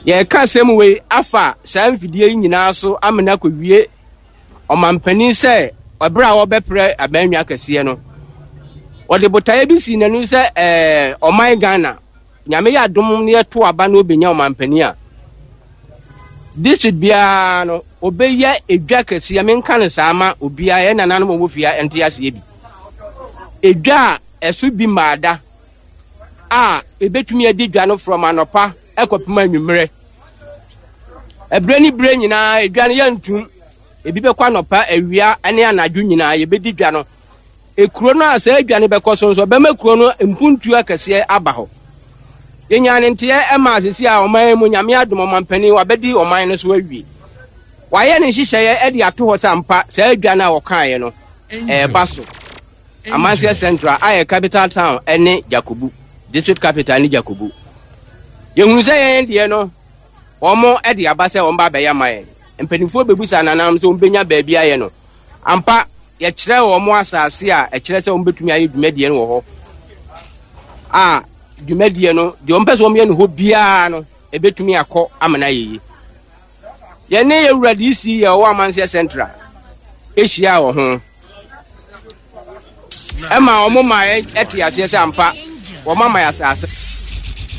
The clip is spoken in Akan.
Yɛreka asɛm wei afa saa mfidie yi nyinaa so amena akɔwie ɔmampanin sɛ ɛberɛ a wɔbɛprɛ abannwa kɛseɛ no, wɔde botaeɛ bi sii n'anim sɛ ɛɛ ɔman Ghana Nyame yɛ adom na yɛto aba na obenya ɔmampanin a, district biara no obɛyɛ edwa kɛseɛ, menka no saa ma obiara, yɛn nananom a wɔwɔ fie a ɛnte aseɛ bi. Edwa a ɛso bi mmaada a ebetumi adi dwa no from anɔpa ɛkɔpem anwummerɛ. Ɛberɛ ne berɛ nyinaa edwa no yɛntum, ebi bɛkɔ anɔpa, awia ne anadwo nyinaa yɛbɛdi dwa no. Ekuro no a saa dwa no bɛkɔ so nso, ɛbɛma kuro no mpuntuo akɛseɛ aba hɔ. Yɛnyaa ne nteɛ ɛmaa sisi a ɔman mu Nyame adom ɔmampanin wabɛdi ɔman no so awie. Wayɛ ne nhyehyɛeɛ de ato hɔ sɛ ampa saa dwa no a wɔkaeɛ no ɛreba so. Amanseɛ Central a yɛ capital town ne Jakobu, district capital ne Jakobu. Yɛhunu sɛ yɛn deɛ no wɔn de aba sɛ wɔn ba abɛyɛ ama yɛn. Mpanimfoɔ bɛbusa nananom sɛ wɔn bɛnya baabi ayɛ no. Ampa, yɛkyerɛɛ wɔn asase a ɛkyerɛ sɛ wɔbɛtumi ayɛ dwumadie no wɔ hɔ a dwumadie no deɛ wɔmpɛ sɛ wɔyɛ no hɔ biara no ɛbɛtumi akɔ amena yɛyi. Yɛne yɛwura DC yɛ ɔwɔ Amanseɛ Central ɛhyia wɔ ho ɛma wɔn ma ɛte aseɛ sɛ ampa wɔn ama yɛ asase.